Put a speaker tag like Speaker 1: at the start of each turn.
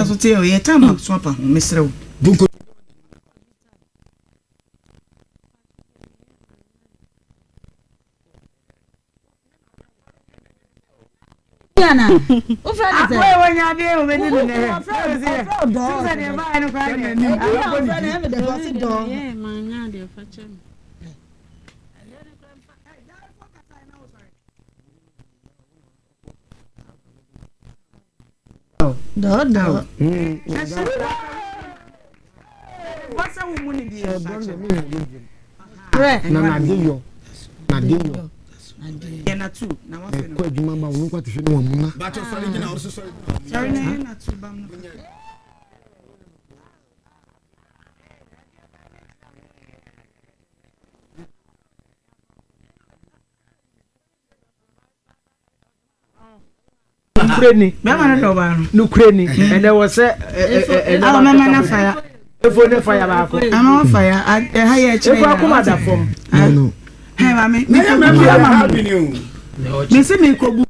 Speaker 1: So te yɛ time so apa ho mesrɛ wo.
Speaker 2: Na n'ade yɔ n'ade yɔ ɛkɔ adwuma ba wɔn nkwa te hwɛ ne wɔn mu na.
Speaker 3: Nokorɛ ni, nokorɛ ni, ɛnɛ wɔ sɛ ɛnɛ ba efo ne fa ya baako.
Speaker 1: Ama wa fa ya, ɛha yɛ kyerɛ
Speaker 3: ya. Efo akoma da fam.
Speaker 1: Hɛ maame, mi kɔ bu ama mo. Mi si mi kɔ bu.